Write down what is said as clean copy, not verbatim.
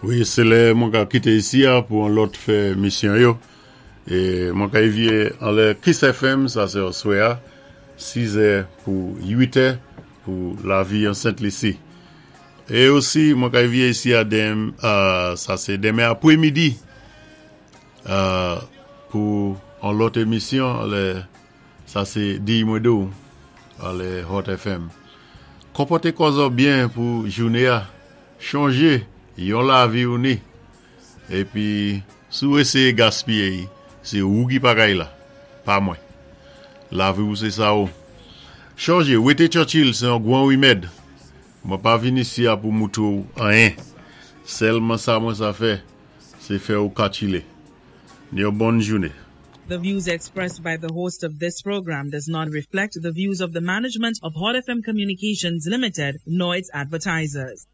Wi, sé lè mwen ka kité isi a pou an lòt fè misyon yo. É mwen ka évyé anlè Kiss FM, sa sé aswè a, 6 è pou 8 è pou Lavi an Sent Lisi. É osi mwen ka évyé isi a dem, sa sé denmen apwé midi pou an lòt émisyon anlè sa sé Diy Mwen Di W anlè Hot FM. Konpòté kò zò byen pou jouné a. Chonjé, yon lavi ou ni. Épi, si w éséyé gaspiyé y, sé ou ki pagay la, pa mwen. Lavi ou sé sa ou. Chonjé, wété Churchill sé yon gwan wimèd. Mwen pa vin isi a pou moutré w anyen. Sèlman sa mwen sa fè, sé fè ou katchilé. Ni yon bòn jouné. The views expressed by the host of this program does not reflect the views of the management of Hot FM Communications Limited nor its advertisers.